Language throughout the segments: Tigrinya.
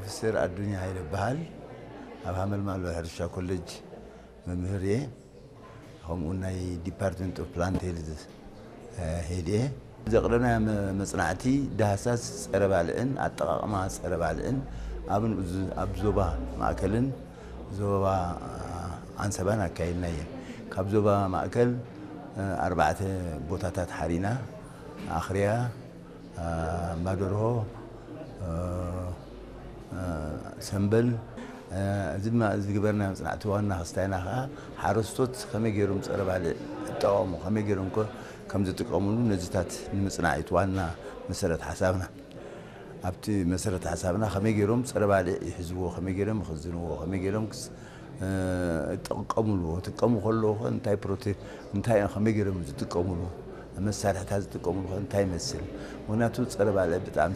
ፕሮፌሰር ኣዱኛ ሃይለ ይበሃል። ኣብ ሃመልማሎ ሕርሻ ኮሌጅ መምህር እየ። ከምኡ ናይ ዲፓርትመንት ኦፍ ፕላንት ሄልዝ ሄድ እየ። ዘቕረብናዮ መ- መጽናዕቲ ዳህሳስ ጸረ ባልዕን ኣጠቓቕማ ጸረ ባልዕን ኣብ ንኡዝ- ኣብ ዞባ ማእከልን ዞባ ኣንሰባን ኣካይድና እየን። ካብ ዞባ ማእከል ኣርባዕተ ቦታታት ሓሪና፣ ኣኽርያ፣ ኣምባደርሆ፣ ሰምበል። እዚ ድማ ዝግበርና መጽናዕቲ ዋና ክስታይና ከዓ ሓረስቶት ከመይ ገይሮም ጸረ ባልዕ ይጠቐሙ፣ ከመይ ገይሮም ከ ከም ዝጥቀምሉ ነዚታት ንምጽናዕ እዩ እቲ ዋና መሰረት ሓሳብና። ኣብቲ መሰረት ሓሳብና ከመይ ገይሮም ጸረ ባልዕ ይሕዝዎ፣ ከመይ ገይሮም ይኽዝንዎ፣ ከመይ ገይሮም ክስ- ይጥቀምሉ፣ ክጥቀሙ ከለዉ ከ እንታይ ፕሮቴ እንታይ እዮም ከመይ ገይሮም ዝጥቀምሉ፣ መሳርሕታት ዝጥቀምሉ ከ እንታይ ይመስል? ምክንያቱ ጸረ ባልዕ ብጣዕሚ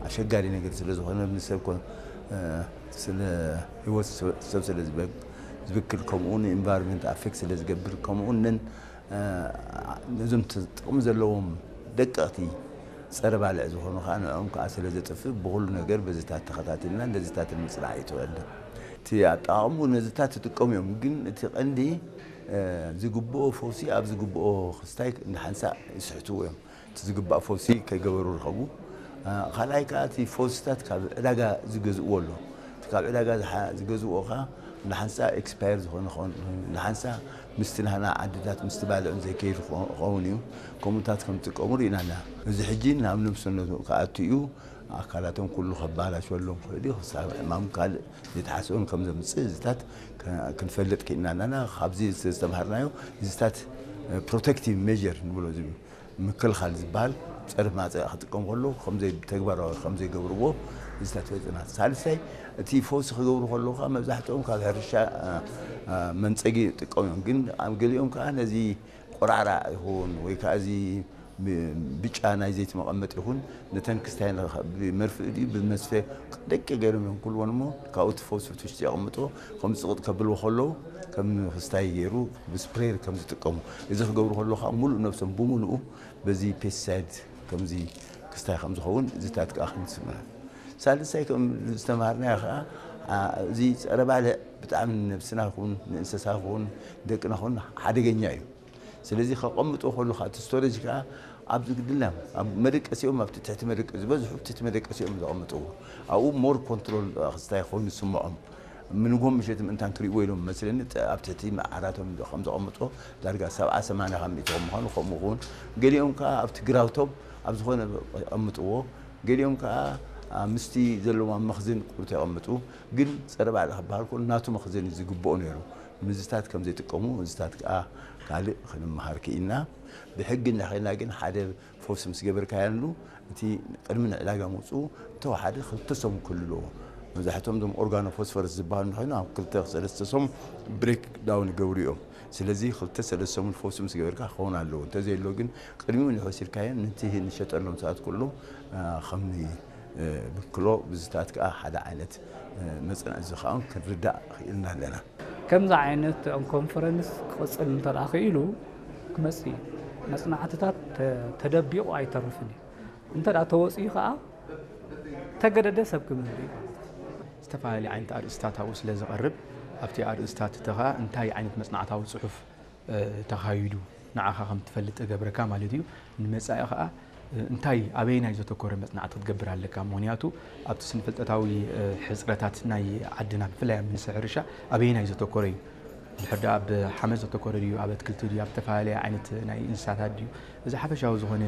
ኣሸጋሪ ነገር ስለ ዝኾነ ንሰብ ኮ- ስለ ህይወት ሰብ ስለ ዝበ- ዝብክል፣ ከምኡ ንኢንቫይሮንመንት ኣፌክት ስለ ዝገብር፣ ከምኡ ነን ነዞም ጥቕሚ ዘለዎም ደቀቕቲ ጸረ ባልዕ ዝኾኑ ከዓ ንዕኦም ከዓ ስለ ዘጥፍእ ብኹሉ ነገር በዚታት ተኸታቲልና ነዚታት ንምጽናዕ እዩ ተወልደ። እቲ ኣጠቓቕሙ ነዚታት ይጥቀሙ እዮም፣ ግን እቲ ቀንዲ ዝግብኦ ፈውሲ ኣብ ዝግብኦ ክስታይ ንሓንሳእ ይስሕትዎ እዮም። እቲ ዝግባእ ፈውሲ ከይገበሩ ርከቡ። ካልኣይ ከዓ እቲ ፈውስታት ካብ ዕዳጋ ዝገዝእዎ ኣሎ። እቲ ካብ ዕዳጋ ዝገዝእዎ ከዓ ንሓንሳ ኤክስፓየር ዝኾነ ኸውን ንሓንሳ ምስቲ ናህና ዓድታት ምስቲ ባልዕን ዘይከይድ ክኸውን እዩ። ከምኡታት ከም ዝጥቀሙ ርኢና ኣለና። እዚ ሕጂ ናብ ነብሰነቱ ክኣቱ እዩ። ኣካላቶም ኩሉ ከባላሸሎም ክእል እዩ። ክሳብ ሕማም ካልእ ዘይተሓስቦን ከም ዘምፅእ እዚታት ክንፈልጥ ክኢልና ኣለና። ካብዚ ዝተምሃርናዮ እዚታት ፕሮቴክቲቭ ሜር ንብሎ እዚ ምክልኻል ዝበሃል ፀረ ማፀ ክጥቀም ከሎ ተግባራዊ ከም ዘይገብርዎ እዚታት ፈሊጥና። ሳልሳይ እቲ ፈውሲ ክገብሩ ከለዉ ከዓ መብዛሕትኦም ካብ ሕርሻ መንፀጊ ይጥቀሙ እዮም። ግን ኣብ ገሊኦም ከዓ ነዚ ቆራዕራዕ ይኹን ወይ ከዓ እዚ ብጫ ናይ ዘይቲ መቐመጢ ይኹን ነተን ክስታይ ብመርፍእ ድዩ ብመስፈ ደቂ ገይሮም እዮም ኩልዎን እሞ ካብኡ እቲ ፈውሲ ትውሽቲ የቐምጥዎ። ከም ፅቕጥ ከብልዎ ከለዉ ከም ክስታይ ገይሩ ብስፕሬር ከም ዝጥቀሙ እዚ ክገብሩ ከለዉ ከዓ ሙሉእ ነብሶም ብሙሉኡ በዚ ፔስቲሳይድ ከምዚ ክስታይ ከም ዝኸውን እዚታት ከዓ ክንስምዕ። ሳልሳይ ከም ዝተምሃርናዮ ከዓ እዚ ፀረ ባልዕ ብጣዕሚ ንነብስና ይኹን ንእንስሳ ይኹን ደቅና ይኹን ሓደገኛ እዩ። ስለዚ ከቐምጦ ከሉ ከዓ እቲ ስቶሬጅ ከዓ ኣብዚ ግድልና ኣብ መደቀሲኦም ኣብቲ ትሕቲ መደቀ ዝበዝሑ ትሕቲ መደቀሲኦም ዘቐምጥዎ ኣብኡ ሞር ኮንትሮል ክስታይ ኮይኑ ዝስምዖም ምንጎም ምሸት ምእንታን ክርእዎ ኢሎም መስለኒ ኣብ ትሕቲ ዓራቶም ከም ዘቐምጦ ዳርጋ ሰብዓ ሰማንያ ካብ ሚእቲ ከም ምዃኑ ከምኡ ክውን ገሊኦም ከዓ ኣብቲ ግራውቶም ኣብ ዝኾነ የቐምጥዎ። ገሊኦም ከዓ ምስቲ ዘለዎም ኣብ መኽዝን ቁሩት የቐምጡ። ግን ፀረ ባዕሊ ክበሃል ከሎ ናቱ መኽዘን እዩ ዝግብኦ ነይሩ። ምዝታት ከም ዘይጥቀሙ እዚታት ከዓ ካልእ ክንመሃር ክኢልና። ብሕጊ እንድሕር ና ግን ሓደ ፈውሲ ምስ ገበርካያሉ እቲ ቅድሚ ንዕዳጋ ምውፅኡ ተወሓደ ክልተ ሰሙን ክህሉ ኣለዎ። መብዛሕትኦም እዞም ኦርጋኖ ፎስፈረስ ዝበሃሉ እንድሕር ኣብ ክልተ ሰለስተ ሰሙን ብሬክ ዳውን ይገብሩ እዮም። ስለዚ ክልተ ሰለስተ ሰሙን ፈውሲ ምስ ገበርካ ክኸውን ኣለዎ። እንተዘየሎ ግን ቅድሚኡ ንወሲድካዮ ነቲ ንሸጠሎም ሰባት ኩሎም ከም ብክሎ ብዝታት ከዓ ሓደ ዓይነት መፅናዕቲ ዝኸውን ክንርዳእ ክኢልና ኣለና። ከምዚ ዓይነት ኮንፈረንስ ክቕፅል እንተ ደኣ ክኢሉ ክመፅእ እዩ። መፅናዕትታት ተደቢቑ ኣይተርፍን እዩ። እንተ ደኣ ተወፂኡ ከዓ ተገደደ ሰብ ክምህር እዩ ማለት እዩ። ዝተፈላለየ ዓይነት ኣርእስታት ኣብኡ ስለ ዝቐርብ ኣብቲ ኣርእስታት እቲ ከዓ እንታይ ዓይነት መፅናዕታዊ ፅሑፍ ተኻይዱ ንዓኻ ከም ትፈልጥ እገብረካ ማለት እዩ። ንመጻኢ ኸኣ እንታይ ኣበየናይ ዘተኮረ መጽናዕቲ ክትገብር ኣለካ። ምኽንያቱ ኣብቲ ስነ-ፍልጠታዊ ሕጽረታት ናይ ዓድና ብፍላይ ኣብ ሚኒስትሪ ሕርሻ ኣበየናይ ዘተኮረ እዩ። እንድሕር ደኣ ኣብ ሓመድ ዘተኮረ ድዩ፣ ኣብ ኣትክልቲ ድዩ፣ ኣብ ዝተፈላለየ ዓይነት ናይ እንስሳታት ድዩ፣ እዚ ሓፈሻዊ ዝኾነ